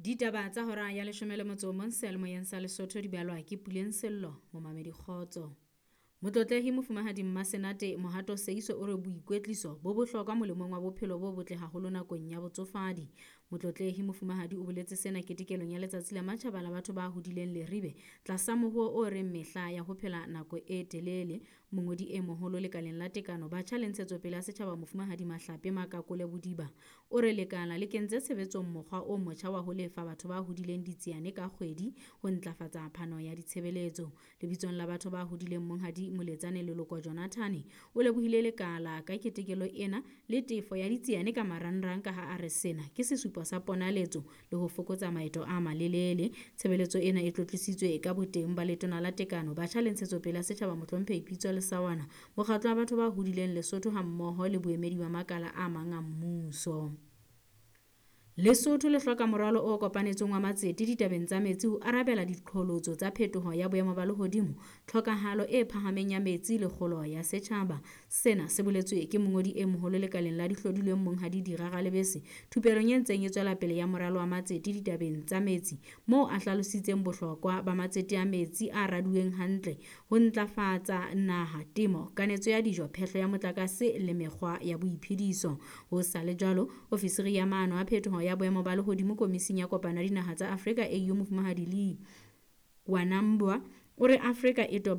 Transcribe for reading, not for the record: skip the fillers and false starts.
Ditaba tsa hora ya 11 seyalemoyeng sa Lesotho di balwa ke Puleng Sello, momamedi kgotso. Motlotlehi Mofumahadi Mmasenate Mohato Seiso o re boikwetliso bo bohlokwa molemong wa bophelo bo botle haholo nakong ya botsofadi. Motlotlehi Mofumahadi o boletse sena ketekelong ya letsatsi la matjhaba la batho ba hodileng Leribe tlasa mohuo o reng mehla ya ho phela nako e telele. Mongodi e moholo lekaleng la tekano batjha le ntshetsopele ya setjhaba Mofumahadi Mahlape Makakole Bodiba o re lekala le kentse tshebetsong mokgwa o motjha wa ho lefa batho ba hodileng ditsiane ka kgwedi ho ntlafatsa phano ya ditshebeletso. Lebitsong la batho ba hodileng Monghadi Moletsane Leloko Jonathan o lebohile lekala ka ketekelo ena le tefo ya ditsiane ka marangrang ka ha a re sena ke sesupo sa ponaletso le ho fokotsa maeto a malelele. Tshebeletso ena e tlotlisitswe ka boteng ba letona la tekano batjha le ntshetsopele ya setjhaba Mohlomphehi Pitso Lesawana, mokgatlo wa batho ba hodileng Lesotho hammoho le boemedi ba makala a mang a mmuso. Lesotho le hloka moralo o kopanetsweng wa matsete ditabeng tsa metsi ho arabela diqholotso tsa phetoho ya boemo ba lehodimo, tlhokahalo e phahameng ya metsi le kgolo ya setjhaba. Sena se boletswe ke mongodi e moholo lekaleng la dihlodilweng Monghadi Dira Ralebese thupelong e ntseng e tswela pele ya moralo wa matsete ditabeng tsa metsi, moo a hlalositseng bohlokwa ba matsete a metsi a raduweng hantle ho ntlafatsa naha, temo, kanetso ya dijo, phehlo ya motlakase le mekgwa ya boiphediso. Ho sa le jwalo, ofisiri ya maano a phetoho ya boemo ba lehodimo Komising ya Kopano ya Dinaha tsa Afrika AU Mofumahadi Lee Wanambwa o re Afrika e toba